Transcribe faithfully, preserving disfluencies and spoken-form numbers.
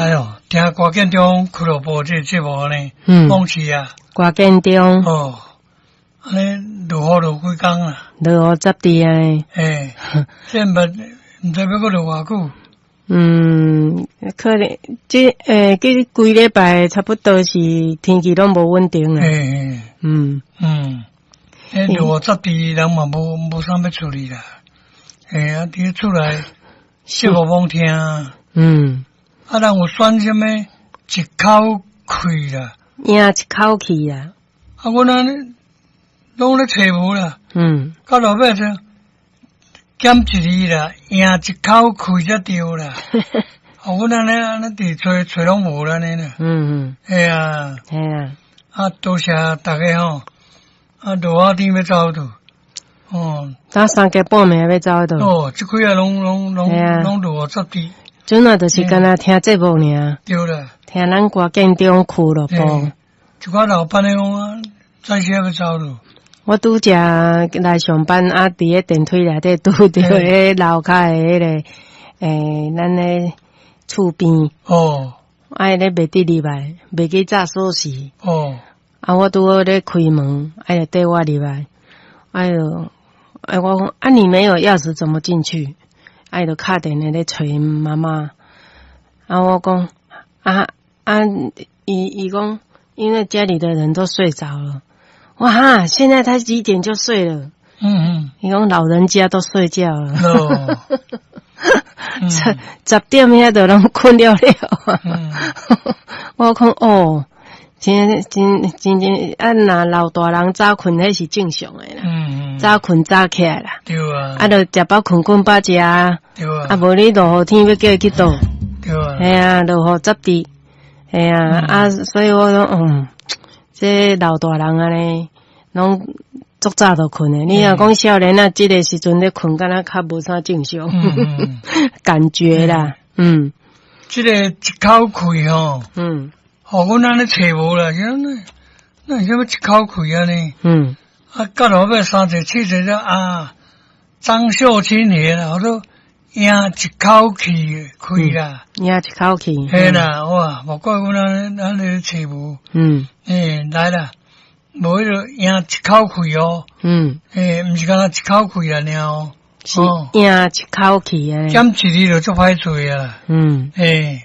來哦，聽歌建中俱樂部這個節目呢，嗯，講是啊，歌建中，哦，按呢落雨落幾工啦，落雨十滴啊，欸，這毋毋知欲閣落偌久。嗯，可能這欸，這幾禮拜差不多是天氣攏無穩定啊。欸，嗯嗯，欸，落雨十滴，人嘛無無啥欲出去啦。欸，啊，佇厝內節目罔聽。嗯。啊，人有選啥物一口氣啦，贏一口氣啦。啊，阮按呢攏咧揣無啦。嗯。到落尾就減一字啦，贏一口氣才對啦。啊，阮按呢按呢佇揣揣攏無啦按呢啦。嗯嗯。嘿啊。嘿啊。啊，多謝大家吼。啊，落雨天欲走佗。哦。早三更半暝欲走佗。哦，這幾仔攏攏攏攏落雨十滴。陣仔就是干焦聽節目爾。對啦。聽咱歌建中俱樂部。一寡老闆的講啊，早時欲走囉。我拄才來上班啊，佇咧電梯內底拄著彼樓跤的彼個，欸，咱的厝邊。哦。啊，伊咧袂得入來，袂記紮鎖匙。哦。啊，我拄好咧開門，啊，就綴我入來。哎喲，哎，我講啊，你沒有鑰匙怎麼進去？啊，伊就敲電話咧揣𪜶媽媽。啊，我講啊啊，伊伊講，因為家裡的人都睡着了。哇哈！現在他幾點就睡了？嗯嗯。伊講老人家都睡覺了。哦。十十點遐就攏睏了了。嗯。我講哦，真真真真啊！若老大人早睏，彼是正常的啦。嗯嗯。早睏早起來啦。對啊。啊，就食飽睏睏飽食。對啊。啊，無你落雨天欲叫伊去佗？對啊。嘿啊，落雨十滴。嘿啊，啊，所以我講，嗯，這老大人按呢，攏足早就睏的。你若講少年仔，這個時陣咧睏，敢若較無啥正常，感覺啦，嗯。這個一口氣吼，嗯，予阮按呢揣無啦，那那啥物一口氣按呢？嗯，啊，到落尾三者四者了啊，張秀清爺啦，我說贏一口氣氣啦，贏一口氣，嘿啦，哇，無怪阮按呢按呢揣無，嗯，欸，來啦，無彼個贏一口氣哦，嗯，欸，毋是干焦一口氣按呢哦，是贏一口氣按呢，減一字就足歹揣啊，嗯，欸。